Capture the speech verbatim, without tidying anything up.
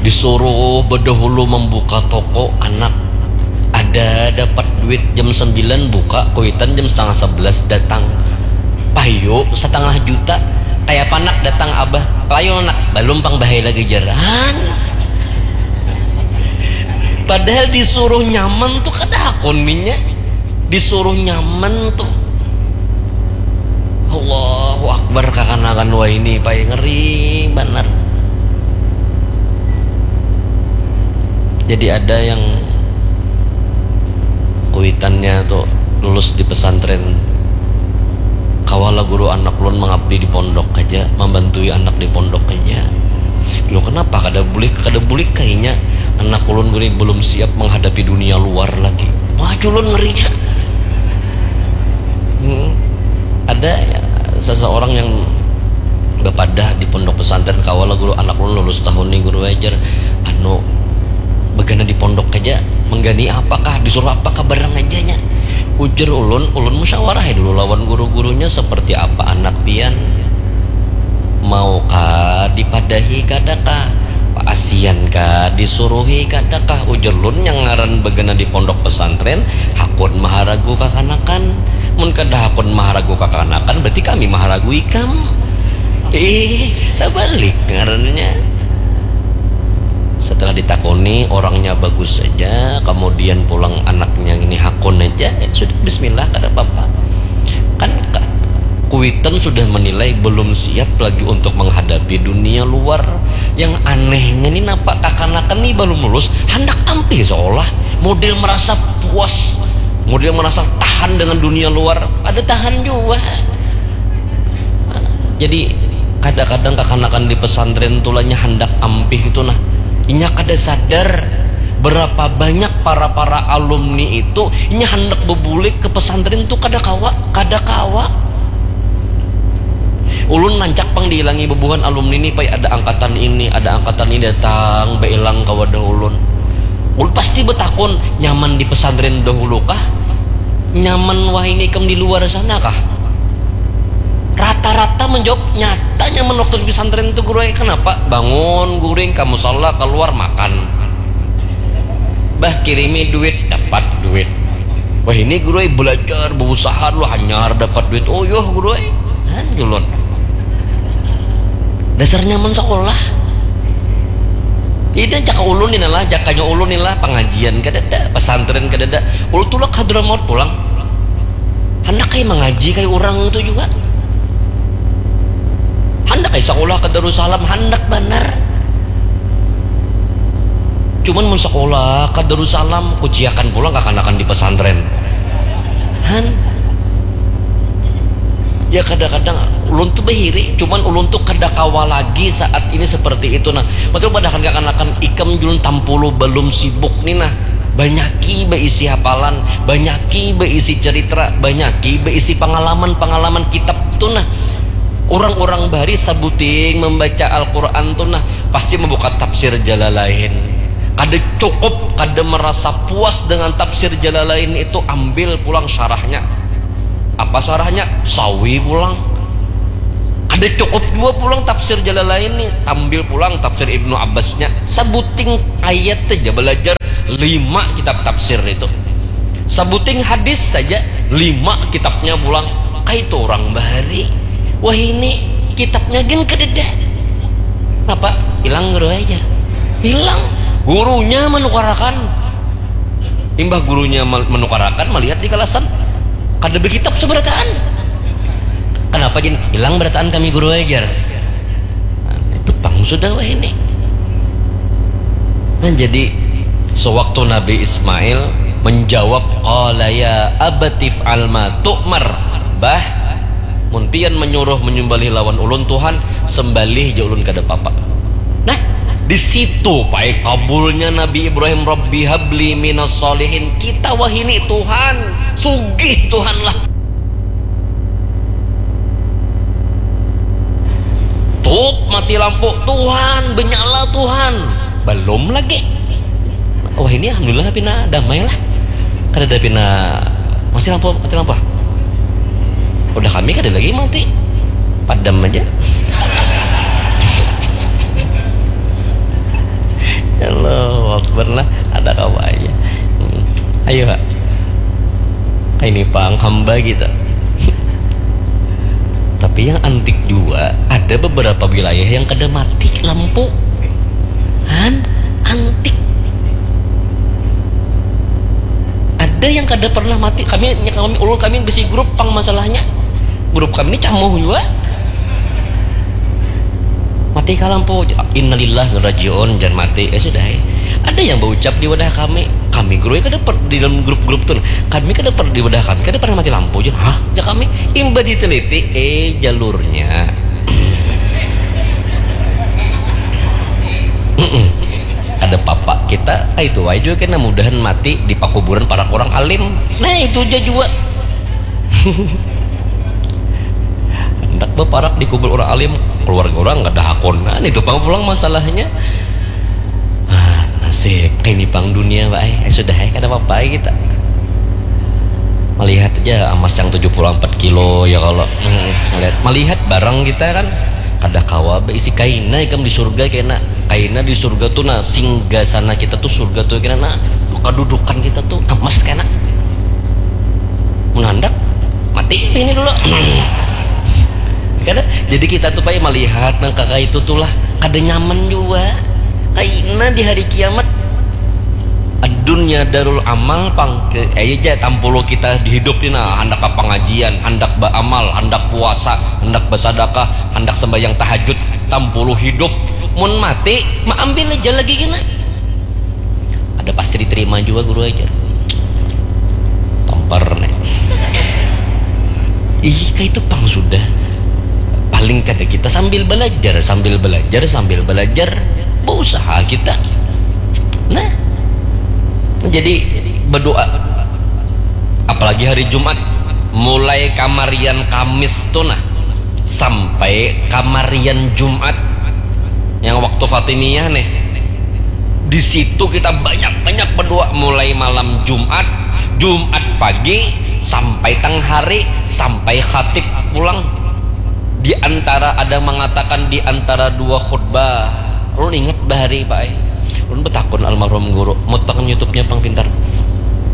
Disuruh bedahulu membuka toko anak. Ada dapat duit jam sembilan buka, kuitan jam setengah sebelas datang. Payu setengah juta. Kayak panak datang abah. Payu nak, belum pang bahai lagi jaran. Padahal disuruh nyaman tuh kada hakun minyak. Disuruh nyaman tuh. Allahu Akbar, kakanakan wah ini pai ngeri banar. Jadi ada yang kuitannya tuh lulus di pesantren, kawala guru anak ulun mengabdi di pondok aja, membantui anak di pondok aja. Lo kenapa kada bulik, kada bulik kayaknya anak ulun guru belum siap menghadapi dunia luar lagi. Wah, culun ngerinya. Hmm. Ada ya, seseorang yang bepadah di pondok pesantren, kawala guru anak ulun lulus tahun ini guru ajar, anu, begana di pondok aja, menggani apakah, disuruh apakah barang aja nya. Ujar ulun, ulun musyawarah ya dulu lawan guru-gurunya seperti apa anak pian. Mau kah dipadahi kada kah? Paasian kah disuruhi kada kah? Ujar lun yang ngaran begana di pondok pesantren, hakun maharagu kakanakan. Mun kada hakun maharagu kakanakan, berarti kami maharagu ikam. Ih, tabalik ngarannya. Setelah ditakuni, orangnya bagus saja, kemudian pulang anaknya ini hakun aja, ya sudah, bismillah, kada apa-apa. Kan ka- kuitan sudah menilai belum siap lagi untuk menghadapi dunia luar. Yang anehnya ni napa, kakanakan ni belum lulus, handak ampih seolah, model merasa puas, model merasa tahan dengan dunia luar, ada tahan juga. Jadi kadang-kadang kakanakan di pesantren tulanya handak ampih itu nah, inya kada sadar berapa banyak para-para alumni itu inya handak bebulik ke pesantren tuh kada kawa, kada kawa. Ulun nancak pang diilangi bebuhan alumni ni, pai ada angkatan ini, ada angkatan ini datang bailang ka wadah ulun. Ulun pasti betakun, nyaman di pesantren dahulu kah? Nyaman wahini ikam di luar sana kah? Rata-rata menjawab nyata nyaman waktu di pesantren itu, guru ai. Kenapa? Bangun guring ka musala, keluar makan. Bah, kirimi duit, dapat duit. Wah, ini guru ai belajar, berusaha dulu, hanyar dapat duit. Oh yoh guru ai. Nah, julun. Dasar nyaman sekolah. Ini jaka ulun ini lah, jakanya ulun ini lah, pengajian kadada, pesantren kadada. Ulun tulak Hadramaut pulang. Handak kayak mengaji kayak orang itu juga. Handak kayak sekolah ke Darussalam, handak banar. Cuman mun sekolah ke Darussalam, kuciakan pulang kakanakan di pesantren. Han. Ya kadang-kadang ulun tuh behiri, cuman ulun tuh kada kawa lagi saat ini seperti itu. Nah, betul padahan kakanakan ikam julun tampulu belum sibuk nih nah. Banyaki beisi hafalan, banyaki beisi cerita, banyaki beisi pengalaman-pengalaman kitab tuh nah. Orang-orang bahari sabuting membaca Al-Quran tuh nah pasti membuka tafsir Jalalain. Kada cukup, kada merasa puas dengan tafsir Jalalain itu, ambil pulang syarahnya. Apa syarahnya? Sawi pulang. Kada cukup juga pulang tafsir Jalalain nih, ambil pulang tafsir Ibnu Abbasnya. Sabuting ayat aja belajar lima kitab tafsir itu. Sabuting hadis saja lima kitabnya pulang. Kaitu orang bahari. Wah, ini kitabnya gin kadada. Napa? Hilang guru aja. Hilang. Gurunya menukarakan. Imbah gurunya menukarakan, melihat di kalasan kada bekitab seberataan. Kenapa gin hilang berataan kami guru ajar? Nah, itu pang sudah wah ini. Nah, jadi sewaktu Nabi Ismail menjawab, qala ya abatif alma tu'mar, bah, mun pian menyuruh menyembelih lawan ulun Tuhan, sembelih ja ulun kada papa. Nah, di situ pai kabulnya Nabi Ibrahim, Rabbi habli minas salihin. Kita wahini Tuhan, sugih Tuhan lah. Tup mati lampu, Tuhan, benyala Tuhan. Belum lagi. Wah, ini alhamdulillah pina damai lah. Kada ada pina masih lampu, mati lampu. Udah kami kada lagi mati. Padam aja. Allahu Akbar lah, ada kawa aja. Hmm. Ayo, ha. Ini pang hamba kita. Tapi yang antik juga, ada beberapa wilayah yang kada mati lampu. Han, antik. Ada yang kada pernah mati. Kami, kami ulun kami bisi grup pang masalahnya. Grup kami ini camuh juga. Mati ka lampu, innalillah rajiun, jangan mati, eh sudah eh. Ada yang berucap di wadah kami, kami guru kada per, di dalam grup-grup tuh, kami kada per, di wadah kami kada pernah mati lampu aja, hah, ya kami imba diteliti, eh jalurnya. Ada papa kita, ah, itu wae juga kena mudahan mati di pakuburan para orang alim. Nah itu aja juga. Hendak baparak di kubur orang alim, keluarga orang nggak ada hakonan, itu pang pulang masalahnya. Ah, nasib, ini pang dunia, Pak. Eh, sudah ya, kada apa-apa ya kita. Melihat aja emas yang tujuh puluh empat kilo ya kalau hmm, melihat, melihat barang kita kan kada kawa beisi kaina ikam di surga kena kaina di surga tuh nah singgah sana kita tuh surga tuh kena nah kedudukan kita tuh emas kena mun handak mati ini dulu kada jadi kita tuh payah melihat nang kakak itu tuh lah kada nyaman juga kaina di hari kiamat dunia darul amal pang ke aja tampulu kita di hidup ini nah hendak apa pengajian hendak beramal hendak puasa hendak bersadakah hendak sembahyang tahajud tampulu hidup mun mati maambil aja lagi kena ada pasti diterima juga guru aja kompar nih ih kayak itu pang sudah paling kada kita sambil belajar sambil belajar sambil belajar berusaha kita nah jadi berdoa apalagi hari Jumat mulai kamarian Kamis tuh nah sampai kamarian Jumat yang waktu Fatimiyah nih di situ kita banyak-banyak berdoa mulai malam Jumat, Jumat pagi sampai tengah hari sampai khatib pulang. Di antara ada mengatakan di antara dua khutbah, lu inget bahari Pak eh. Lu betakun almarhum guru, mutakan YouTube-nya pang pintar.